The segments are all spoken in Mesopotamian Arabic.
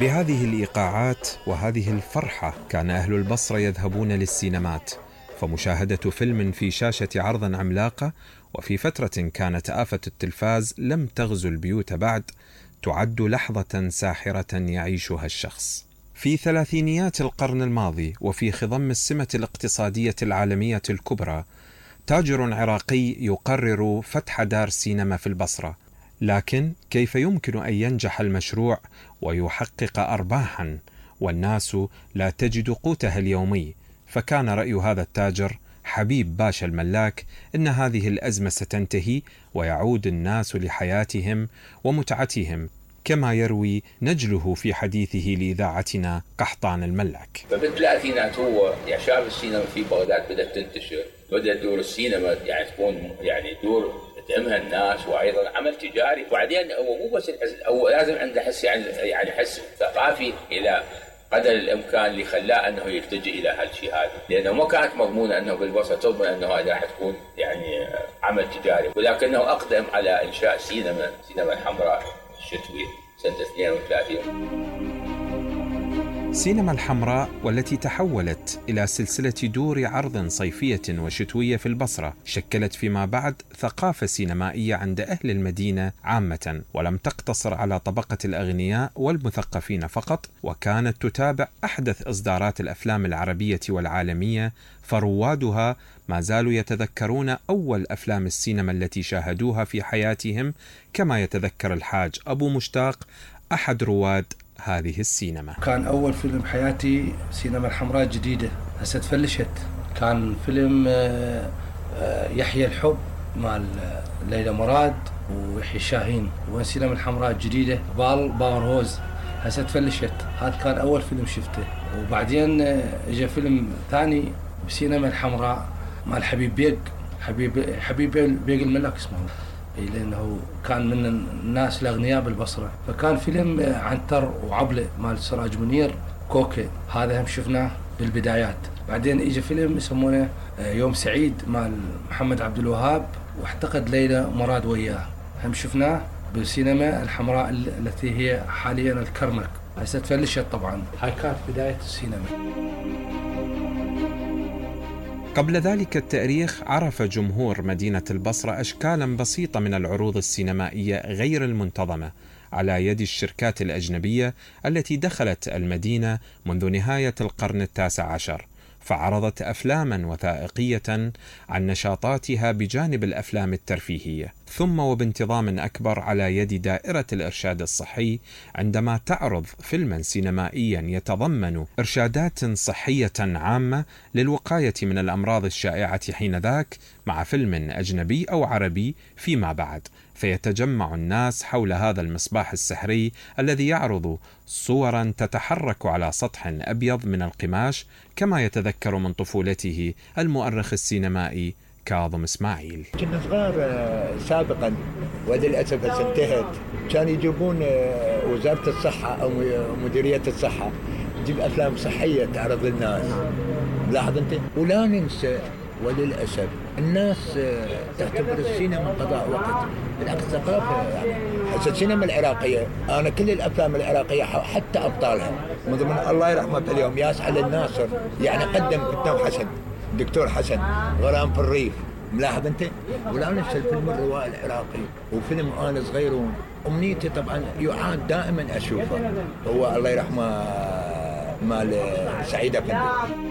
بهذه الإيقاعات وهذه الفرحة كان أهل البصرة يذهبون للسينمات، فمشاهدة فيلم في شاشة عرض عملاقة وفي فترة كانت آفة التلفاز لم تغزو البيوت بعد تعد لحظة ساحرة يعيشها الشخص. في ثلاثينيات القرن الماضي وفي خضم السمة الاقتصادية العالمية الكبرى، تاجر عراقي يقرر فتح دار سينما في البصرة، لكن كيف يمكن أن ينجح المشروع ويحقق أرباحا والناس لا تجد قوتها اليومي؟ فكان رأي هذا التاجر حبيب باشا الملاك إن هذه الأزمة ستنتهي ويعود الناس لحياتهم ومتعتهم، كما يروي نجله في حديثه لإذاعتنا قحطان الملاك. فبالثلاثينات هو يعني شاف السينما في بغداد بدأت تنتشر، بدأت دور السينما يعني تكون يعني دور تهمها الناس وأيضا عمل تجاري. وبعدين هو مو بس هو لازم عنده حس يعني حس ثقافي إلى قدر الإمكان اللي خلاه أنه يلتجئ إلى هالشيء هذا، لأنه ما كانت مضمونة أنه بالبصرة تضمن أنه هذا راح تكون يعني عمل تجاري، ولكنه أقدم على إنشاء سينما الحمراء الشتوي سنة 32. سينما الحمراء والتي تحولت إلى سلسلة دور عرض صيفية وشتوية في البصرة شكلت فيما بعد ثقافة سينمائية عند أهل المدينة عامة، ولم تقتصر على طبقة الأغنياء والمثقفين فقط، وكانت تتابع أحدث إصدارات الأفلام العربية والعالمية، فروادها ما زالوا يتذكرون أول أفلام السينما التي شاهدوها في حياتهم، كما يتذكر الحاج أبو مشتاق أحد رواد هذه السينما. كان أول فيلم بحياتي سينما الحمراء الجديدة هسه تفلشت، كان فيلم يحيى الحب مال ليلى مراد ويحيى الشاهين، وين سينما الحمراء الجديدة باور هوز هسه تفلشت. هذا كان أول فيلم شفته، وبعدين اجى فيلم ثاني بسينما الحمراء مال حبيب بيق الملاك اسمه، لأنه كان من الناس الأغنياء بالبصرة، فكان فيلم عنتر وعبلة مال سراج منير كوكي، هذا هم شفناه بالبدايات. بعدين إجا فيلم يسمونه يوم سعيد مال محمد عبد الوهاب واعتقد ليلى مراد وياه، هم شفناه بالسينما الحمراء التي هي حاليا الكرنك، هسه تفلشت طبعا. هاي كانت بداية السينما. قبل ذلك التاريخ عرف جمهور مدينة البصرة أشكالا بسيطة من العروض السينمائية غير المنتظمة على يد الشركات الأجنبية التي دخلت المدينة منذ نهاية القرن ال19، فعرضت أفلاما وثائقية عن نشاطاتها بجانب الأفلام الترفيهية، ثم وبانتظام أكبر على يد دائرة الإرشاد الصحي عندما تعرض فيلما سينمائيا يتضمن إرشادات صحية عامة للوقاية من الأمراض الشائعة حينذاك مع فيلم أجنبي أو عربي فيما بعد، فيتجمع الناس حول هذا المصباح السحري الذي يعرض صورا تتحرك على سطح أبيض من القماش، كما يتذكر من طفولته المؤرخ السينمائي كاظم إسماعيل. كنا صغار سابقا وللأسف انتهت، كان يجيبون وزارة الصحة أو مديرية الصحة تجيب أفلام صحية تعرض للناس، لاحظ أنت. ولا ننسى وللأسف الناس تعتبر السينما قضاء وقت، بالعكس ثقافة. يعني هسه السينما العراقية أنا كل الأفلام العراقية حتى أبطالها من ضمن الله يرحمه اليوم ياسعد الناصر، يعني قدم كتاب حسن دكتور حسن غرام في الريف، ملاحظ أنت. ولا ننسى الفيلم الروائي العراقي وفيلم أنا صغيرون. أمنيتي طبعا يعاد دائما أشوفه هو الله يرحمه مال سعيد أفندي.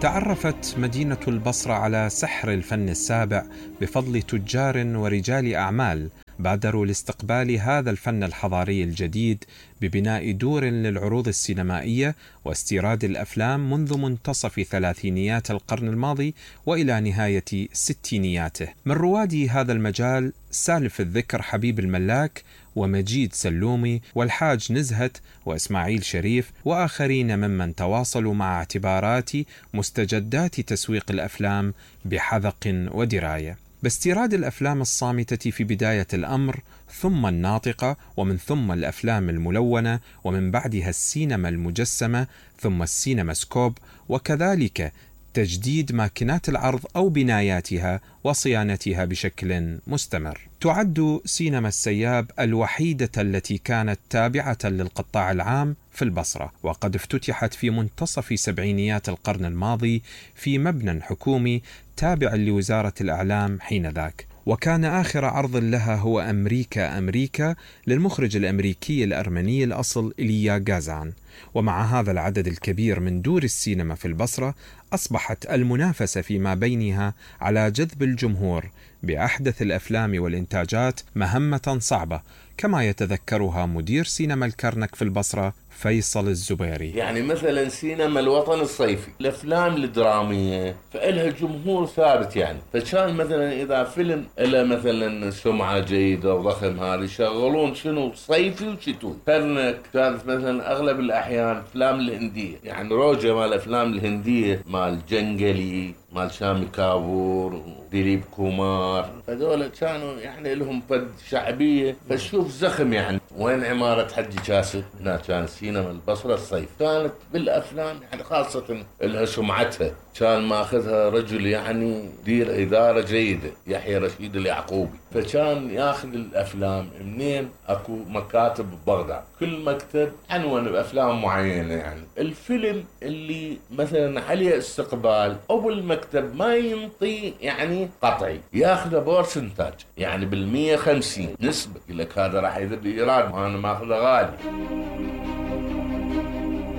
تعرفت مدينة البصرة على سحر الفن السابع بفضل تجار ورجال أعمال بادروا لاستقبال هذا الفن الحضاري الجديد ببناء دور للعروض السينمائية واستيراد الأفلام منذ منتصف ثلاثينيات القرن الماضي وإلى نهاية ستينياته. من رواد هذا المجال سالف الذكر حبيب الملاك ومجيد سلومي والحاج نزهت وإسماعيل شريف وآخرين ممن تواصلوا مع اعتبارات مستجدات تسويق الأفلام بحذق ودراية، باستيراد الأفلام الصامتة في بداية الأمر، ثم الناطقة، ومن ثم الأفلام الملونة، ومن بعدها السينما المجسمة، ثم السينما سكوب، وكذلك تجديد ماكينات العرض أو بناياتها وصيانتها بشكل مستمر. تعد سينما السياب الوحيدة التي كانت تابعة للقطاع العام في البصرة، وقد افتتحت في منتصف سبعينيات القرن الماضي في مبنى حكومي تابع لوزارة الإعلام حينذاك، وكان آخر عرض لها هو أمريكا للمخرج الأمريكي الأرمني الأصل إيليا غازان. ومع هذا العدد الكبير من دور السينما في البصرة، أصبحت المنافسة فيما بينها على جذب الجمهور بأحدث الأفلام والإنتاجات مهمة صعبة، كما يتذكرها مدير سينما الكرنك في البصرة فيصل الزبيري. يعني مثلا سينما الوطن الصيفي، الافلام الدراميه فإلها جمهور ثابت، يعني فكان مثلا اذا فيلم له مثلا سمعه جيده وضخم هذا يشغلون شنو صيفي وشتوي. كرنك كانت مثلا اغلب الاحيان افلام الهنديه، يعني روجه مال الافلام الهنديه مال جنجلي مال شامي كابور ديليب كومار، فدول كانوا يعني لهم فد شعبيه فشوف زخم. يعني وين عماره حجي كاسب؟ هنا كان سينما البصره الصيف، كانت بالافلام يعني خاصه لها سمعتها، كان ماخذها رجل يعني دير اداره جيده يحيى رشيد اليعقوبي، فكان ياخذ الافلام منين اكو مكاتب ببغداد، كل مكتب عنون بافلام معينه. يعني الفيلم اللي مثلا عليه استقبال او المكتب ما ينطي يعني قطعي ياخذه بورسنتاج، يعني بال150 نسبه، يقول لك هذا راح يذب ايراد وانا ماخذه غالي.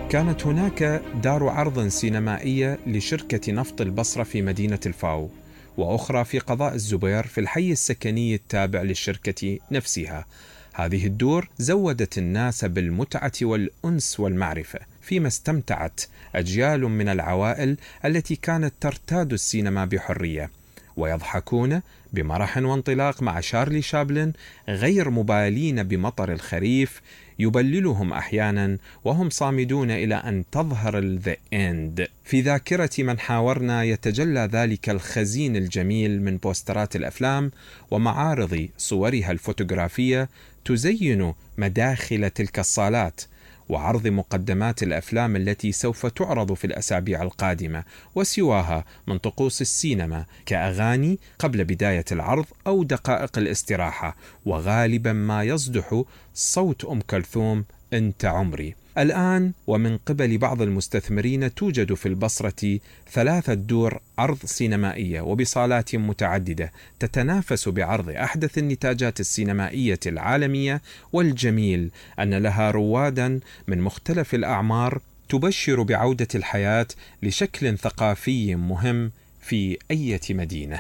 كانت هناك دار عرض سينمائية لشركة نفط البصرة في مدينة الفاو، وأخرى في قضاء الزبير في الحي السكني التابع للشركة نفسها. هذه الدور زودت الناس بالمتعة والأنس والمعرفة، فيما استمتعت أجيال من العوائل التي كانت ترتاد السينما بحرية، ويضحكون بمرح وانطلاق مع شارلي شابلن، غير مبالين بمطر الخريف يبللهم أحيانا وهم صامدون إلى أن تظهر الذا إند. في ذاكرة من حاورنا يتجلى ذلك الخزين الجميل من بوسترات الأفلام ومعارض صورها الفوتوغرافية تزين مداخل تلك الصالات، وعرض مقدمات الأفلام التي سوف تعرض في الأسابيع القادمة، وسواها من طقوس السينما كأغاني قبل بداية العرض أو دقائق الاستراحة، وغالبا ما يصدح صوت أم كلثوم أنت عمري. الآن ومن قبل بعض المستثمرين توجد في البصرة 3 دور عرض سينمائية وبصالات متعددة تتنافس بعرض أحدث النتاجات السينمائية العالمية، والجميل أن لها روادا من مختلف الأعمار تبشر بعودة الحياة لشكل ثقافي مهم في أي مدينة.